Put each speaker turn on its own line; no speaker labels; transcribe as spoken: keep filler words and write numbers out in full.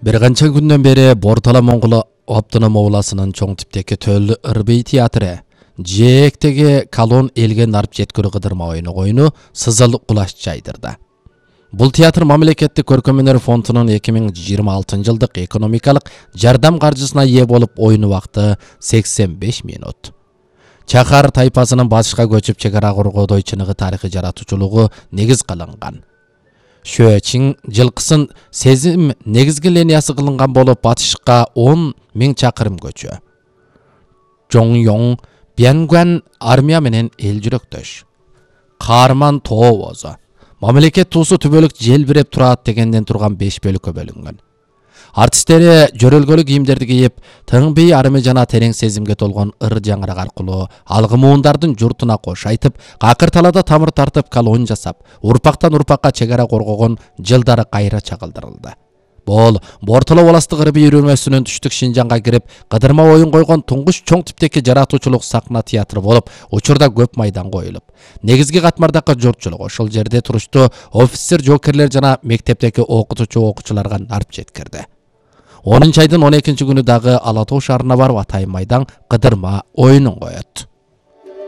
Bir qancha gündən beri Bortala Moңғол Автоном обласынын чоң типтеги Төл Ырбей театры жээктеги колон элге нарып жеткүрү кыдырма оюну коюну сызыл кулаш жайдырды. Бул театр мамлекеттик көркөм өнөр фондунун эки миң жыйырма алтынчы жылдык экономикалык жардам каржысына ээ болуп оюну убакыты сексен беш минут. Чакар тайпасынын батышка көчүп чек ара коргоодой чыныгы тарыхый жаратуучулугу негиз кылынган. Шөчиң жылкысын сезим негизги линиясы кылынган болуп батышка он миң чакырым көчө. Жоңёң Бянгуан армия менен эл жүрөктөш. Каарман тоо бозо. Мамлекет туусу түбөлүк желбиреп турат дегенден турган беш бөлүккө бөлүнгөн. Артисттери жөрөлгөлүк кийимдерди кийип, тыңбей арымы жана терең сезимге толгон ыр жаңырак аркылуу алгы муундардын журтуна кош айтып, какыр талада тамыр тартып колон жасап, урпактан урпакка чек ара коргогон жылдары кайра чагылдырылды. Бул Бортала областык Ырбей үйрөнмөсүнүн түштүк Шинжанга кирип, кыдырма оюн койгон туңгуч чоң типтеги жаратуучулук сахна театры болуп, учурда көп майдан коюлуп. Негизги катмардагы журтчулук ошол жерде туруштуу офицер, жоокерлер жана мектептеги окутуучу окуучуларга нарып жеткирди. онунчу айдын он экинчи күнү дагы Ала Тоо шаарына барып Атайын майдан кыдырма оюнун коет.